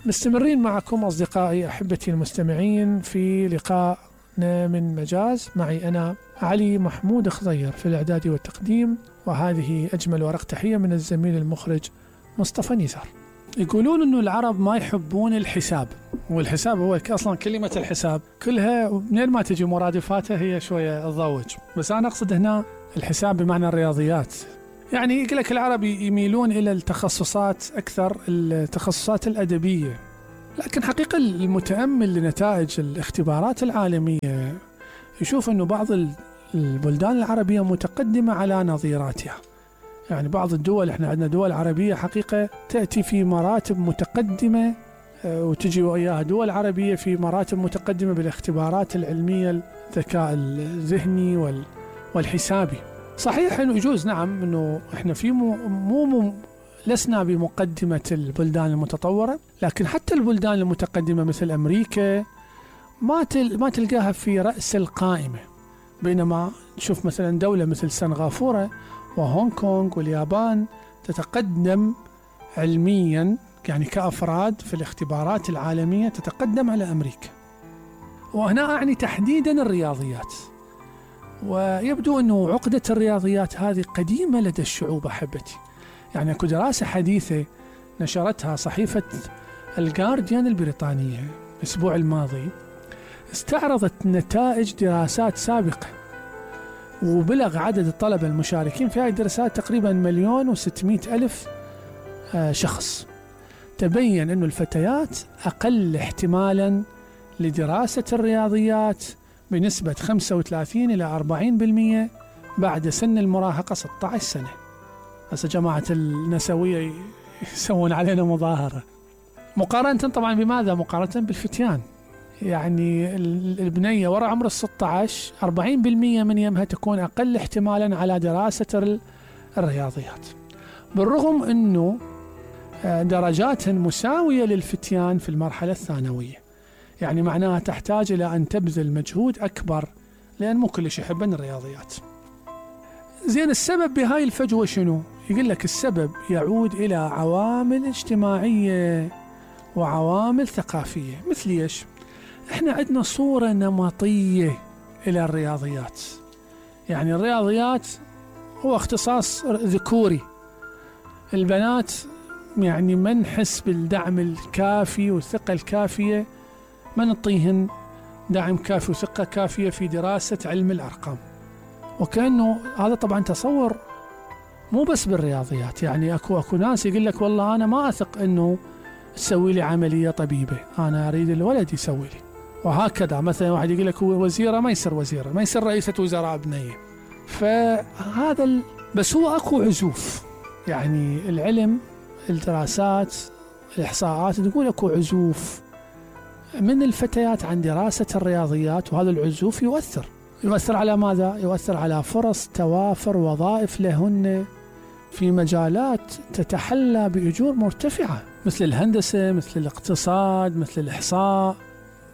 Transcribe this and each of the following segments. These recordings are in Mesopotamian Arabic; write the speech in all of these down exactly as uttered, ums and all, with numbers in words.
مستمرين معكم أصدقائي أحبتي المستمعين في لقائنا من مجاز، معي أنا علي محمود خضير في الإعداد والتقديم، وهذه أجمل ورق تحية من الزميل المخرج مصطفى نزار. يقولون أنه العرب ما يحبون الحساب، والحساب هو أصلا كلمة الحساب كلها منين ما تجي مرادفاتها هي شوية تضوج، بس أنا أقصد هنا الحساب بمعنى الرياضيات. يعني يقول لك العرب يميلون إلى التخصصات أكثر، التخصصات الأدبية، لكن حقيقة المتأمل لنتائج الاختبارات العالمية يشوف أنه بعض البلدان العربية متقدمة على نظيراتها. يعني بعض الدول، احنا عندنا دول عربية حقيقة تأتي في مراتب متقدمة، وتجي وإياها دول عربية في مراتب متقدمة بالاختبارات العلمية، الذكاء الذهني والحسابي. صحيح انه يجوز نعم انه احنا في مو, مو, مو لسنا بمقدمة البلدان المتطورة، لكن حتى البلدان المتقدمة مثل امريكا ما تل ما تلقاها في رأس القائمة، بينما نشوف مثلا دولة مثل سنغافورة وهونغ كونغ واليابان تتقدم علميا، يعني كأفراد في الاختبارات العالمية تتقدم على أمريكا. وهنا أعني تحديدا الرياضيات، ويبدو أنه عقدة الرياضيات هذه قديمة لدى الشعوب أحبتي. يعني أكو دراسة حديثة نشرتها صحيفة الجارديان البريطانية الأسبوع الماضي، استعرضت نتائج دراسات سابقة، وبلغ عدد الطلبة المشاركين في هذه الدراسات تقريبا مليون وستمائة ألف شخص. تبين أن الفتيات أقل احتمالا لدراسة الرياضيات بنسبة خمسة وثلاثين إلى أربعين بالمئة بعد سن المراهقة ستة عشر سنة. هسه جماعة النسوية يسوون علينا مظاهرة، مقارنة طبعا بماذا؟ مقارنة بالفتيان. يعني البنية وراء عمر الستة عشر أربعين بالمئة من يمها تكون أقل احتمالا على دراسة الرياضيات، بالرغم أنه درجات مساوية للفتيان في المرحلة الثانوية. يعني معناها تحتاج إلى أن تبذل مجهود أكبر، لأن مو كلش يحبن الرياضيات. زين، السبب بهاي الفجوة شنو؟ يقول لك السبب يعود إلى عوامل اجتماعية وعوامل ثقافية. مثل إيش؟ إحنا عندنا صورة نمطية إلى الرياضيات. يعني الرياضيات هو اختصاص ذكوري، البنات يعني ما نحس بالدعم الكافي والثقة الكافية، ما نعطيهن دعم كافي وثقة كافية في دراسة علم الأرقام. وكأنه هذا طبعا تصور مو بس بالرياضيات. يعني أكو أكو ناس يقول لك والله أنا ما أثق أنه تسوي لي عملية طبيبة، أنا أريد الولد يسوي لي. وهكذا مثلا واحد يقول لك هو وزيرة ما يصير وزيرة، ما يصير رئيسة وزراء بنية. فهذا ال... بس هو أكو عزوف. يعني العلم، الدراسات، الإحصاءات تقول أكو عزوف من الفتيات عن دراسة الرياضيات، وهذا العزوف يؤثر يؤثر على ماذا؟ يؤثر على فرص توافر وظائف لهن في مجالات تتحلى بأجور مرتفعة، مثل الهندسة، مثل الاقتصاد، مثل الإحصاء.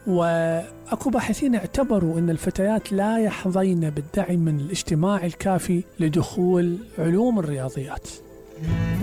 وأكو باحثين اعتبروا أن الفتيات لا يحظين بالدعم من الاجتماع الكافي لدخول علوم الرياضيات.